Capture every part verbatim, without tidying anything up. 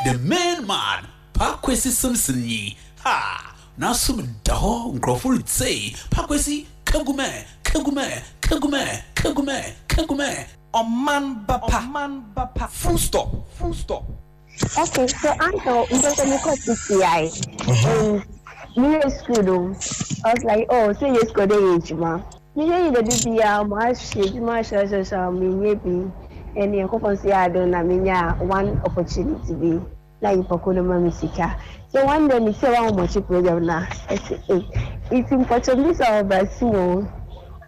The main man, Paa Kwesi Simpson yi, ha! N'asom da hɔ, nkurɔfo retsei, Paa Kwesi, Kagumɛ, Kagumɛ, Kagumɛ, Kagumɛ, Kagumɛ. Ɔman ba pa. Full stop. Full stop. Okay, so uncle, because me kɔ T T I and me yɛ school no, I was like, "Oh, so yɛ school de yɛ adwuma." Me yɛ yi dɛ biara mo ahwɛ adwuma ahwɛ ahwɛ ahwɛ, me nye bi. Ɛne nkɔfɔ nso yɛ adom na me nya one opportunity bi na nyimpa ko no ma me sika. So one day me sɛ wɔn ahomakye program na ɛsɛ eh nti mpɔtɔ mi sɛ ɔba si o.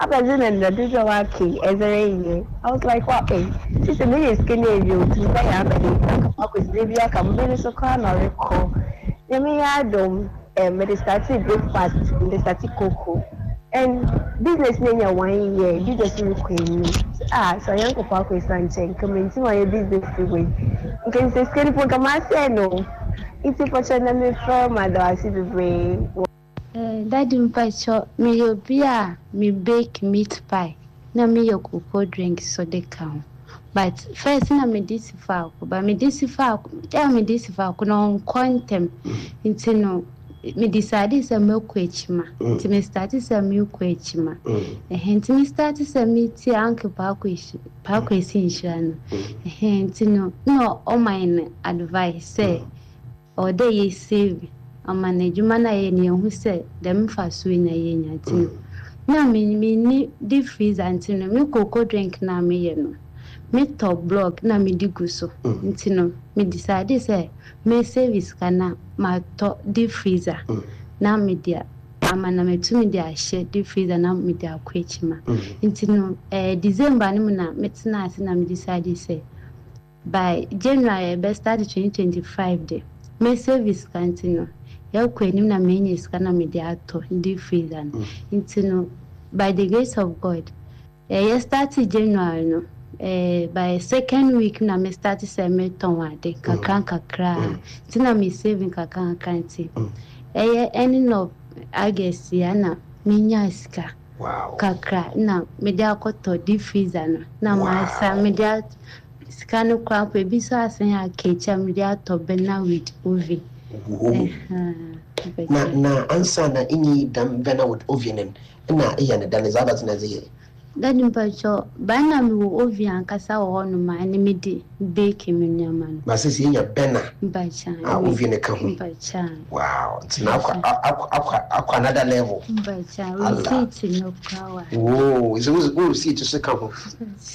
Abɛdze na nna dodo a waka yi ɛdze reyɛ. I was like, "Wow, eh, sisi me yɛ sika na ewie o, tumi bɛyɛ abɛde aka akɔsi bi aka mo bi nso koraa na ɔrekɔ." Nyame yɛ adom, eh, mede started breakfast, mede started cocoa. And business no nya one year, business no rekɔ anim. Ah, so Onyankopɔn akɔ esa nkyɛn, nka mentim ayɛ business wei. Nka nsɛ sika no po nka masɛe no. Nti pɔkyɛ na mefrɛ ma da ase bebree. Eh, Daddy, mpakyɛ, meyɛ obi a me bake meat pie na meyɛ cocoa drink so de ka ho. But first na mede si faako, but mede si faako, a mede si faako na ɔnkɔ ntɛm. Nti no, me decide sɛ mɛkɔ akyima. Nti me start sɛ mekɔ akyima. Ɛhɛn, nti me start sɛ metie Uncle Paako Paako Esi Nhyira no. Ɛhɛn, nti no, na ɔma yɛn advice sɛ ɔwɔ dɛ yɛ save ama n'adwuma no a yɛyɛ no, yɛhu sɛ dɛm mfasoɔ yi na yɛnya. Nti no, na me menni deep freezer, nti no me cocoa drink na meyɛ no, metɔ block na mede gu so. Nti no me decide sɛ me save sika na matɔ deep freezer na mede ama na matumi de ahyɛ deep freezer na mede akɔ akyima. Nti no eh, December no mu na metena ase na me decide sɛ by January ɛbɛ start twenty twenty-five de me save sika. Nti no yɛkɔ anim na menya sika na mede atɔ deep freezer no. Nti no by the grace of God, eh, yɛ start January no, eh, by second week na me start sɛ metɔn ade kakra nkakra. Nti na me saving kakra nkakra, nti ɛyɛ ending of August ya na menya sika Wow. kakra na mede akɔtɔ deep freezer no na masa mede at sika no koraa mpo, ebi nso asan aka akyi a mede atɔ burner with oven. Whoa. Ɛhɛn, Na mpɛkyɛ. Na ansa na inyi dam burner with oven no, na eyɛ ne dan dza abadze na dze yɛ? Daddy, mpakyɛ, baa na mewɔ oven ankasa wɔ hɔnom a ɛne mede bake me nneɛma no. Ba sisi enya burner Mpakyɛ. a oven ka ho. Mpakyɛ. Wow, nti na akɔ akɔ akɔ akɔ another level. Mpakyɛ. Allah. Receipt no koraa wɔ ha. Whoa, is it wo receipt so ka ho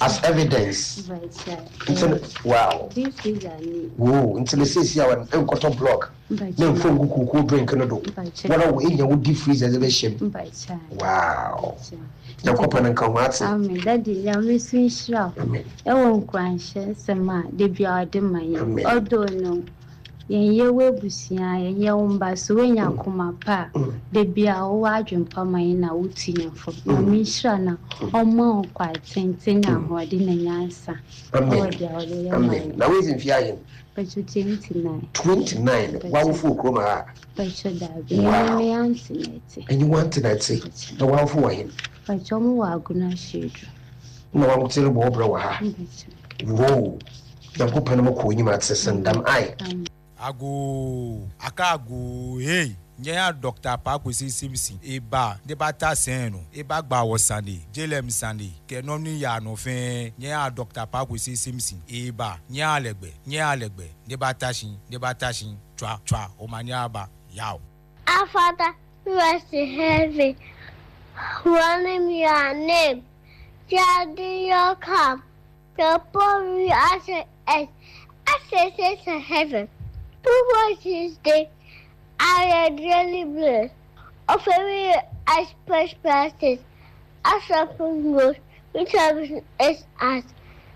as evidence? Mpakyɛ. Nti no, wow. Deep freezer ni. Whoa, nti no sisi a wɔn nkɔtɔ block na Mpakyɛ. mfo ngu cocoa drink no do. Mpakyɛ. Wɔn a wɔ enya wo deep freezer dze bɛhyɛ mu. Mpakyɛ. Wow. Mpakyɛ. Nyankopɔn nka ho ate. Amen. Daddy, Nyame nso nhyira wo. Amen. Ɛwɔ nkuranhyɛ nsɛm a da biara ɔde ma yɛn. Amen. Although no, yɛnyɛ wo abusua, yɛnyɛ wo mba so, woanya akoma pa a, da biara wowɔ adwene pa ma yɛn na wotu yɛn fo. Nyame nhyira na ɔmma wo nkwa tenten ne ahoɔden na nyansa. Amen. Ɛwɔ deɛ ɔde yɛ ma Amen. yɛn. Na woedzi mfe ahen? Mpakyɛ, twenty-nine. twenty-nine. Wawofo wɔ kurom ha? Mpakyɛ, daabi. Wow. Me me aunty na ɛte. Ɛnye wante na ɛte. Na wawofo wɔ hen? Mpakyɛ, ɔmo wɔ Agona Hyɛduru. Na wawote rebɔ wo brɛ wɔ ha. Mpakyɛ. Whoa. Nyankopɔn mo kɔ enyim ate sendam ai. Amen. Ago aka ago hey nye ya Doctor Pakwesi Simpson eba de ba ta sɛn no eba gba wɔ sande jelem sande kɛnɔ ni ya no fɛn nye ya Doctor Pakwesi Simpson eba nye alɛgbɛ nye alɛgbɛ de ba ta sin de ba ta sin twa twa o ma nye aba yaw. Our Father who art in heaven, hallowed your name. Your kingdom come. Your will as it is, as it is in heaven. Give us this day our daily bread. And forgive us trespasses, as we forgive those who trespass against us.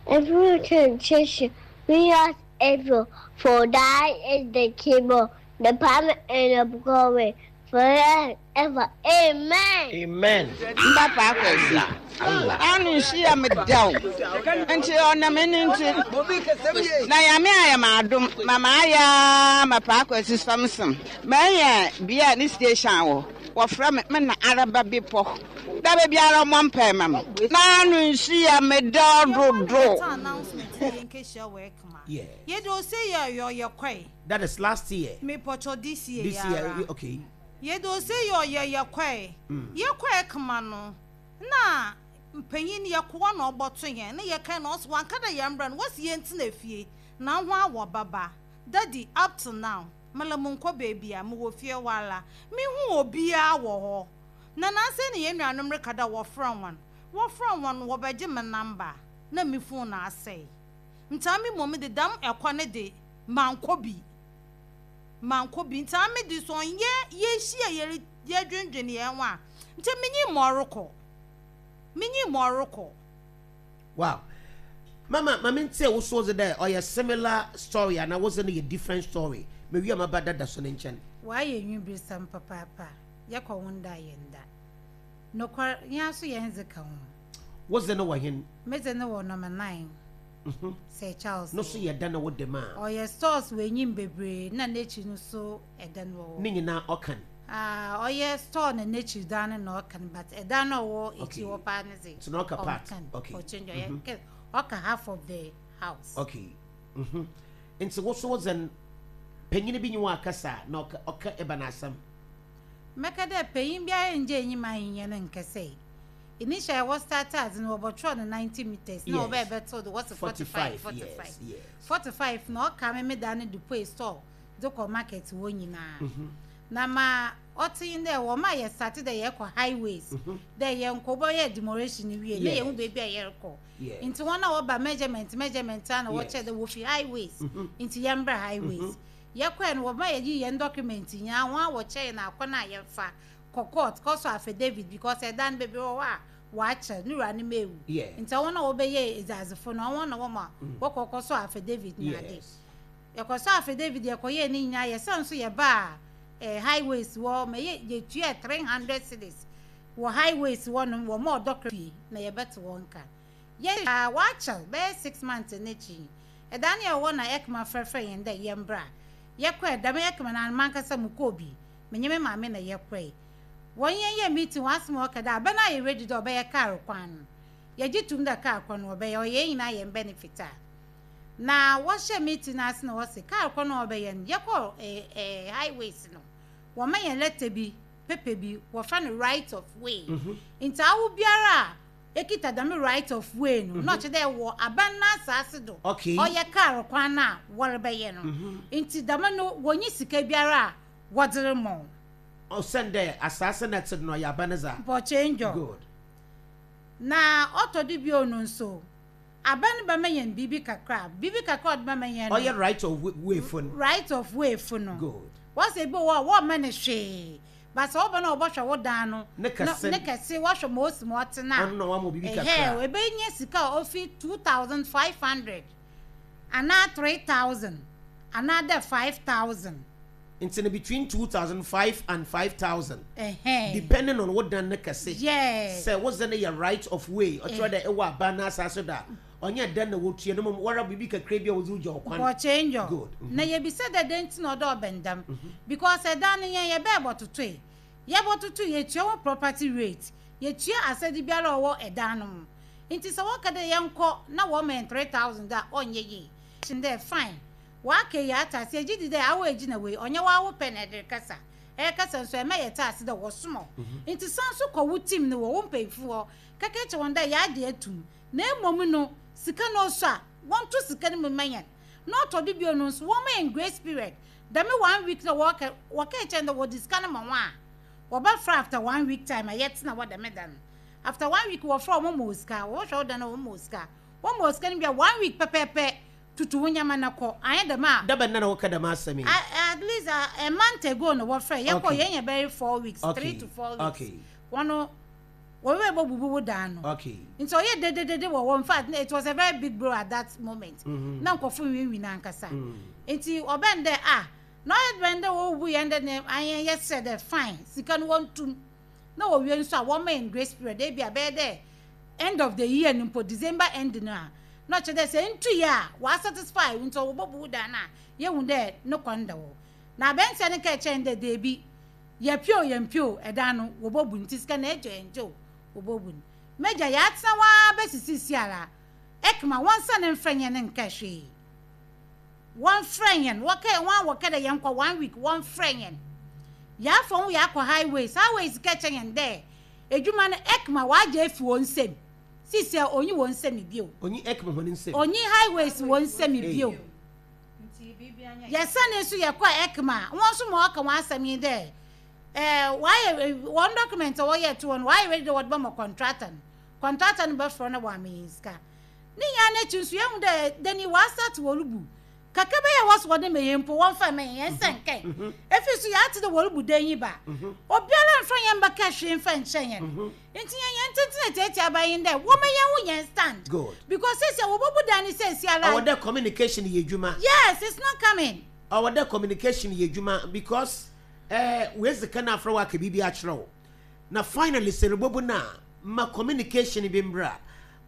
And lead us not into temptation, but deliver us evil. For thine is the kingdom, the power, and the glory, forever and ever. Amen. Amen. Mba Paakwasi ano nhyia me daw nti ɔnam ɛno nti na Nyame ayɛ m adom ma maayɛ ma Paakwasi Samson manya bea ne station wɔ wɔfrɛ me me na araba bepɔ da baabiara ɔmmɔ mpae ma me na ano nhyia me daw dodo. Announcement yɛn nkehyia wɔ ekma. Yeah. Yɛde ose yɛ yɔ yɛ kɔe. That is last year. Mepɔtɔ this year. This year, okay. Yɛde ose yɛ ɔyɛ yɛ kɔe. Yɛ kɔe kama no na mpanyin yɛ koa na ɔbɔto yɛn na yɛka na ɔso wanka da yɛn mbrɛ no wɔsi yɛn tena fie na ho awɔ baba. Daddy, up to now mala mu nkɔ beebi a mewɔ fie wala mehu obiara wɔ hɔ na nansɛ ne yɛn nuanom reka da wɔfrɛ wɔn wɔfrɛ wɔn wɔbɛgye me number na me phone na asɛe ntaa mi mmom de dam ɛkɔ ne de mankɔ bi mankɔ bi ntaa mi de so ɔnyɛ yɛhyia yɛre yɛdwendwen yɛn ho a nti menyi ma ɔrekɔ menyi ma ɔrekɔ. Wow, mama mama ntie wo so dɛ ɔyɛ similar story ana wo no yɛ different story? Mewi a maba dada so ne nkyɛn. Wayɛ nwibirisɛm papaapa. Yɛkɔ wo nda yɛn da nokwar yɛn aso yɛn dze ka ho. Wo ze no wɔ hen? Medze no wɔ number nine Sir Charles. No so yɛ da na wo dem a? Ɔyɛ stores wɔ enyim bebree na n'ekyir no so ɛda no wɔ hɔ. Ne nyinaa ɔkan? Ah, ɔyɛ store na n'ekyir dan no na ɔkan, but ɛdan no ɔwɔ ekyir hɔ paa ne dze So na ɔka part. Ɔnkan. Okay. Ɔkyɛn ɔyɛ kɛ ɔka half of the house. Okay, mhm nti wo so wo ze no panyin bi nyi wɔ akasa na ɔka ɔka ɛba n'asɛm? Mɛka dɛ panyin biara ngye enyim ahinyɛ no nkɛsɛ initial wɔ start adze no wɔbɔtwerɛ no ninety meters na Yes. wɔbɛyɛ bɛto do wɔsi forty five. Forty five. yes yes Forty five na ɔka me me da no de pue store de kɔ market hɔ nyinaa Mhm. na ma ɔte yi dɛ wɔn a yɛ start dɛ yɛkɔ highways dɛ yɛn nkɔ bɔyɛ demolition wie na yɛn ho Yes. beebi a yɛrekɔ. Yes. Nti wɔn a wɔba measurement measurement a na Yes. wɔkyerɛ dɛ wofi highways Mhm. nti yɛn brɛ highways. Yɛkɔɛ no wɔma yɛyi yɛn document nyinaa wɔn a wɔkyerɛ yɛn akɔ na yɛmfa kɔ court kɔsɔ affidavit because ɛdan bebree wɔ hɔ a wɔakyerɛ ne wura ne ma ewu. Yeah. Nti wɔn a wɔbɛyɛ edzadzefo no wɔn na wɔn a wɔkɔ kɔsɔ affidavit na ade. Yes. Yɛkɔsɔ affidavit, yɛkɔyɛ ne nyinaa, yɛsan nso yɛba a ɛɛ highways wɔ ma yɛ yɛtua three hundred cedis wɔ highways wɔ no wɔ ma ɔdɔ fie na yɛbɛte wɔn ka yɛ a wɔakyɛ bɛyɛ six months n'akyi ɛdan ne yɛwɔ na ɛkama frɛfrɛ yɛn dɛ yɛn bra. Yɛkɔ ɛdam ɛkama na mankasa mu kɔɔ bi menye me maame na yɛkɔɛ wɔn yɛn yɛ meeting wɔn asɛm a wɔka dɛ abɛn a yɛ ready dɛ ɔbɛyɛ kaa kwan no yɛgye tum dɛ kaa kwan no ɔbɛyɛ ɔyɛ yɛn nyinaa yɛn benefit a na wɔhyɛ meeting ase na wɔsi kaa kwan no ɔbɛyɛ no yɛkɔ ɛɛ ɛɛ highways no wɔma yɛn letter bi paper bi wɔfa no right of way. Nti awo biara a ekita dɛm right of way no na ɔkyerɛ dɛ wɔ aban n'asaase do Okay. ɔyɛ kaa kwan no a wɔrebɛyɛ no nti dɛm no wɔnyi sika biara a wɔdze remɔ. Ɔsɛn dɛ asase na ɛte no ɔyɛ aba ne za. Mpɔkyɛ ndwɔ. Good. Na ɔtɔ do bio no nso aban bɛma yɛn biribi kakra biribi kakra ɔde bɛma yɛn no Ɔyɛ right of way fo no. Right of way fo no. Good. Wɔsɛ ebi wɔ hɔ a wɔmma ne hwee basa ɔba na ɔbɔhwɛ wo dan no Ne kɛse. Ne kɛse wɔhwɛ ma osi ma ɔte na Ɔno na wama biribi ɛhɛ kakra. Ebenya sika a ofi two thousand five hundred anaa three thousand anaa dɛ five thousand. Nti no between two thousand five and five thousand, ɛhɛn depending on wo dan ne kɛse. Yes. Sɛ wo ze no yɛ right of way ɔkyerɛ dɛ ɛwɔ aba n'asase do a ɔnyɛ dan na wotua no mmom wɔra biribi kakra bi a wɔdze wogya ɔkwan. Mpɔkyɛ ndwɔ. Good. Mhm. Na yɛbisa dɛ dɛn nti na ɔdɔ ɔbɛn dam because ɛdan no yɛn yɛbɛɛ bɔtotoe yɛbɔtoto yɛtua ho property rate yɛtua asɛde biara a ɔwɔ ɛdan no mu nti sɛ wɔka dɛ yɛnkɔ na wɔma yɛn three thousand a ɔnyɛ yie kyin dɛ fine waka yi ata ase egyi di dɛ awo egyina wei ɔnyɛ wawo pɛ na ɛde kasa ɛyɛ kasa nso ɛmɛ yɛ ta ase dɛ wɔsomɔ nti san so kɔ wo team no wɔ wo mpanyinfo hɔ kɛkɛ kyɛ wɔn dɛ yɛade atum na emom no sika no so a wɔnto sika no mu mma yɛn na ɔtɔ do bio no nso wɔn ma yɛn grace period dɛm one week na wɔka wɔka kyɛn dɛ wɔde sika no ma wɔn a wɔbɛfra after one week time a yɛtena wɔ dɛm da no after one week wɔfra wɔn ma osika wɔhwɛ wɔn da no wɔn ma osika wɔn ma osika no bi a one week pɛpɛɛpɛ tutu wo nyama na kɔ anyɛ dɛm a. Dabɛ nna na wɔka dɛm asɛm yi? A- at least a, a month ago na wɔfrɛ yɛkɔ Okay. yɛn yɛ bɛyɛ four weeks Okay. three to four weeks Okay. wɔn no wɔbɛ bɔ bubu wo dan no okay nti ɔyɛ dededede wɔ hɔ. In fact, it was a very big blow at that moment Mhm. na nkɔfo nwinwin n'ankasa Mm. nti ɔbɛn dɛ a na ɔyɛ bɛn dɛ wɔwubu yɛn dɛ ne ayɛn yɛ sɛ dɛ fine sika no wɔntum na wɔwie nso a wɔma yɛn grace period ebi a bɛyɛ dɛ end of the year no mpo December end no a na ɔkyerɛ dɛ sɛ ntu yɛ a wɔasatisfy nti ɔwɔbɔbu dan no a yɛhu dɛ ne kɔn da hɔ na abɛntia no ka kyɛn dɛ deebi yɛpio yɛmpio ɛdan no wɔbɔbu nti sika na ɛgye yɛn gye o wɔbɔbu no mɛgya yɛatena waa bɛsisi si ara ɛkama wɔn nsa ne mfrɛ nyɛ ne nka hwee. Wɔmfrɛ yɛn, wɔka wɔn a wɔka dɛ yɛnkɔ one week, wɔmfrɛ yɛn. Yɛafa ho yɛakɔ Highways. Highways ka kyerɛ yɛn dɛ edwuma no EKMA wɔagye afi wɔn nsam. Sisi a onyi wɔn nsam bio. Onyi EKMA wɔn nsam. Onyi Highways wɔn nsam bio. Yɛsane nso yɛkɔ EKMA, wɔn nso ma wɔka wɔn asɛm yi dɛ ɛɛ wɔayɛ wɔn document a wɔyɛ to wɔn, wɔayɛ ready dɛ wɔde bɛma contractor no. Contractor no bɛfrɛ no wɔ ama yɛn sika. Ne nyinaa n'akyi nso yɛhu dɛ dani wɔasate wɔrebu kakra bɛyɛ wɔ so wɔde ma yɛn mpo, wɔmfa ma yɛn, yɛn nsa nkɛn. Efi so yɛate dɛ wɔrebu dan yi ba, obiara mfa yɛn bɛka hwee mfa nkyɛn yɛn. Nti yɛn yɛn tenten tietia aba yi dɛ wɔma yɛn ho yɛn stand. Good. Because sisi a wɔbɛbu dan ne sɛsi ara. Ɔwɔ dɛ communication yɛ adwuma. Yes, it's not coming. Ɔwɔ dɛ communication yɛ adwuma because ɛɛ wezi ka na afrɛ wa aka biribi akyerɛ wo na finally sɛ rebobu na ma communication bi mbra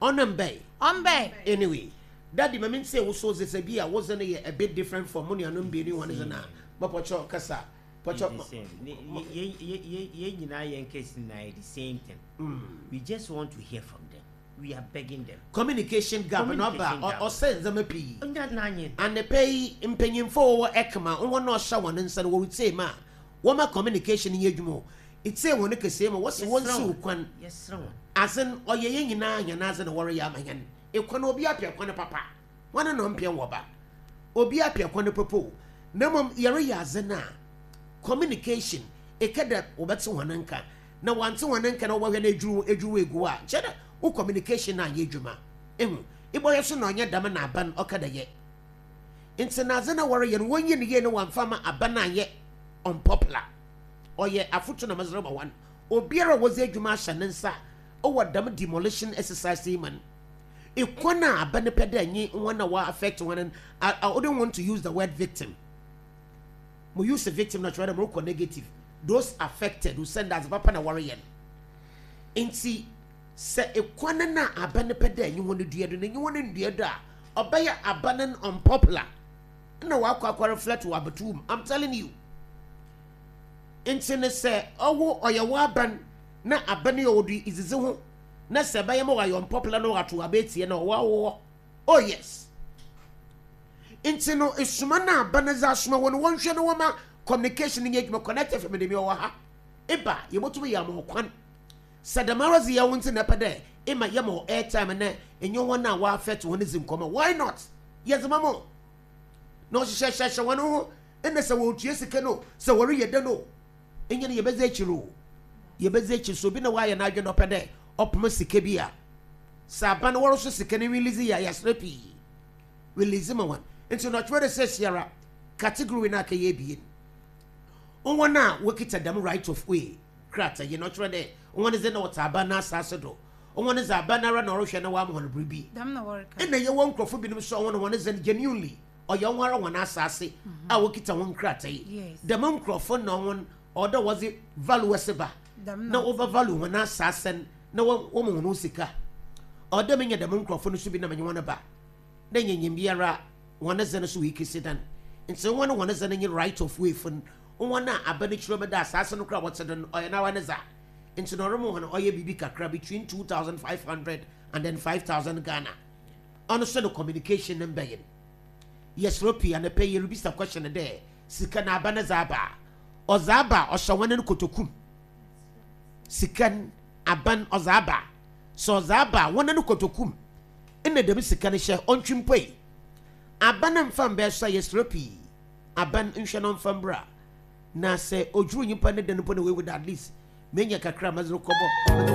ɔno mbɛn. Ɔmbɛn. Anyway, Daddy, ma mi nse wo so sɛ bi a wodze no yɛ a bit different from mo nuanom mmienu wɔn dze na mɔpɔkyɛ kasa pɔkyɛ. It's the same. Yɛn nyinaa yɛn case nyinaa yɛ the same thing. Mm. We just want to hear from them. We are begging them. Communication gap na ɔba. Communication gap. Ɔsɛ ndzɛmba pii. Ɔnya n'anyɛ. Anapa yi mpanyimfo a wɔwɔ EKMA wɔn na ɔhyɛ wɔn nsa no, wɔretie mu a wɔma communication yɛ adwuma o etie wɔn kɛseɛ mu wɔsi wɔn Yɛsrɛ si wɔn. kwan. Yɛsrɛ wɔn. Asen ɔyɛ yɛn nyinaa yɛn adze na wɔreyɛ ama yɛn ekwan. Obi apɛ kwan papa, wɔn na ɔmpɛ wɔ ba, obi apɛ kwan papa o, na mmom yɛreyɛ adze na communication eka dɛ wɔbɛte wɔn nka na wɔante wɔn nka na wɔbɛhwɛ na edwuru edwuru egu a kyerɛ dɛ wo communication na anyɛ adwuma ehu ibɔyɛ so na ɔnyɛ dɛm na aban ɔka dɛ yɛ nti na adze na wɔreyɛ no wɔnyi ne yie no wɔamfa ma aban anyɛ unpopular. Ɔyɛ afoto na mɛsrɛ ma wɔn obiara a wɔdze adwuma ahyɛ ne nsa ɔwɔ dɛm demolition exercise yi ma no ekwan a aba ne pɛ dɛ nye wɔn a wɔ affect wɔn no. I, I wouldn't want to use the word "victim". Mo use "victim" na kyerɛ dɛ mo rekɔ negative. Those affected who send as papa na wɔreyɛ no nti sɛ ekwan no a aba ne pɛ dɛ nye wɔn dua do na nye wɔn ndua do a ɔbɛyɛ aba no unpopular na wakɔ akɔ reflect wɔ abɛtum. I'm telling you. Nti ne sɛ ɔwo ɔyɛ wɔ aban na aban yɛ ɔdo izizi ho na sɛ ɛbɛyɛ ma wɔayɛ unpopular na wɔato abɛɛtie na ɔwɔ awɔ. Oh yes, nti no esuma na aba no dze asoma wɔn, wɔnhwɛ no wɔma communication nyɛ adwuma. Connect F M de mi ɔwɔ ha eba yɛbɛtumi yɛ ama ɔkwan sɛ dɛm ara dze yɛ wo nti na ɛpɛ dɛ ema yɛ ma wɔ airtime na enye wɔn a wɔafɛt wɔn dzi nkɔmɔ. Why not yɛdze ma mo na ɔhyehyɛhyɛhyɛ wɔn ho ɛna sɛ wɔretua sika no sɛ wɔreyɛ dɛ no enye no yɛbɛdze akyiri o, yɛbɛdze akyiri so obi na wɔayɛ n'adwene na ɔpɛ dɛ ɔpoma sika bi a sɛ aba no wɔreso sika no release yɛ a yɛasrɛ pii release ma wɔn. Nti na ɔtwerɛ de sɛ siara category no akɛyɛ ebien, wɔn a wɔkita dɛm right of way krataa yi na ɔtwerɛ dɛ wɔn dze na wɔte aba n'asase do, wɔn dze aba n'ara na ɔrehwɛ na wɔama wɔn biribi. Dɛm na wɔreka. Ɛna yɛwɔ nkurɔfo binom so a wɔn wɔn dze no genuinely ɔyɛ wɔn ara wɔn asase a wɔkita wɔn krataa yi. Yes. Dɛm nkurɔfo na wɔn ɔdɔ wɔdze valuers ba Dɛm na wɔbɛ value wɔn asase no na wɔn wɔn wɔn sika. Ɔdɔ mi nyɛ dɛm nkurɔfo no so bi na mɛ nye wɔn ba na nyɛ biara wɔn dze no so wɔ ekesi dan. Nti wɔn wɔn dze no nye right of way fo no, wɔn a aba no kyerɛ bɛda asase no kora wɔte do no ɔyɛ n'awa ne dza nti na ɔremo wɔn ɔyɛ biribi kakra between two thousand five hundred and then five thousand Ghana. Ɔno so no communication ne mbɛyɛ no yɛsrɛ pii. Anapɛ yɛrebisa question dɛ sika na aba ne dza aba a ɔdza aba a ɔhyɛ wɔn no kotokum sika n aban ɔdza aba sɛ ɔdza aba a wɔn no kotokum ɛna dɛm sika no hyɛ ɔntwi mpo yi aba no mfa mbɛɛ so a yɛsrɛ pii aban nhwɛ no mfa mbra na sɛ odwuru nyimpa ne dan mpo na wewu da at least menya kakra a mɛdze kɔbɔ.